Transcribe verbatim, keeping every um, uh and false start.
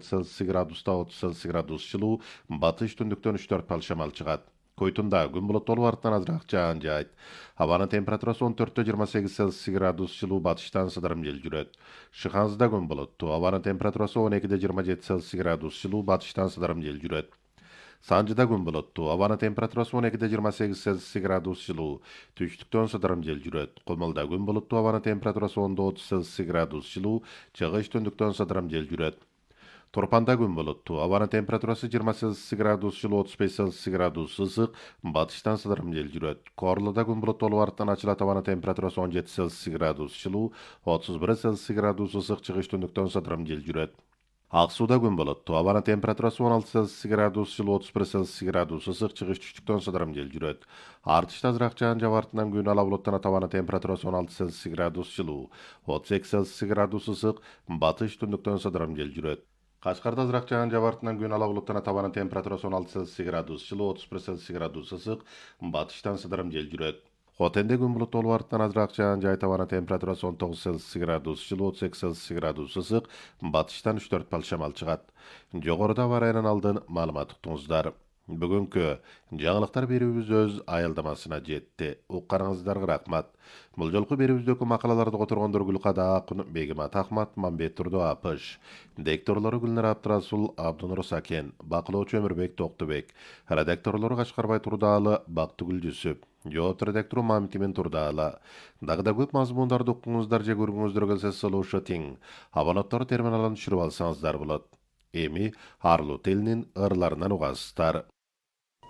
алты Цельсий градуста отуз Цельсий градус жылуу, батыш түндүктөн үч төрт балл шамал чыгат. Койтунда күн булуттуу артынан азыраак жаан жаайт. Абанын температурасы он төрттө жыйырма сегиз Цельсий градус жылуу, батыштан сыдырым жел жүрөт. Шыханзыда күн булуттуу. Абанын температурасы он экиде жыйырма жети Цельсий градус жылуу, батыштан сыдырым жел жүрөт. Санжыда күн булуттуу. Абанын температурасы он экиде жыйырма сегиз Цельсий градус жылуу, түштүктөн сыдырым жел жүрөт. Кумулда күн булуттуу. Абанын температурасы ондо отуз Цельсий градус жылуу, чыгыш түндүктөн сыдырым жел жүрөт. Торпанда күн булуттуу. Абанын температурасы жыйырма Цельсий градус жылуу, отуз беш Цельсий градус ысык, батыштан сыдырым жел жүрөт. Корлуда күн булуттуу болуп артынан ачылат. Абанын температурасы он жети Цельсий градус жылуу, отуз бир Цельсий градус ысык, чыгыш түндүктөн сыдырым жел жүрөт. Ак сууда күн булуттуу. Абанын температурасы он алты Цельсий градус жылуу, отуз бир Цельсий градус ысык, чыгыш түштүктөн сыдырым жел жүрөт. Артышта азыраак жаан жаап артынан күн ала булуттанат. Абанын температурасы он алты Цельсий градус жылуу, отуз эки Цельсий градус ысык, батыш түндүктөн сыдырым жел жүрөт. Кашкарда азыраак жаан жаап артынан күн ала булуттанат. Абанын температурасы он алты Цельсий градус жылуу, отуз бир Цельсий градус ысык, батыштан сыдырым жел жүрөт. Хотенде күн булуттуу болуп артынан азыраак жаан жаайт. Абанын температурасы он тогуз Цельсий градус жылуу, отуз эки Цельсий градус ысык, батыштан үч төрт балл шамал чыгат. Жогоруда аба ырайынан алдын маалымат уктуңуздар. Бүгүнкү жаңылыктар берүүбүз өз аялдамасына жетти. Укканыңыздарга рахмат. Бул жолку берүүбүздөгү макалаларды которгондор Гүлкада Акын, Бегимат Ахмат, Мамбет Турду Апыш, дикторлору Гүлнар Абдрасул, Абдунур Сакен, бакылоочу Өмүрбек Токтубек, редакторлору Кашкарбай Турдаалы, Бактыгүл Жүсүп, жооп редактору Мамтимин Турдаалы. Дагы да көп мазмундарды уккуңуздар же көргүңүздөр келсе салуушу тең. Абонаттар терминалын түшүрүп алсаңыздар болот. Эми арлуу тилинин ырларынан угасыздар.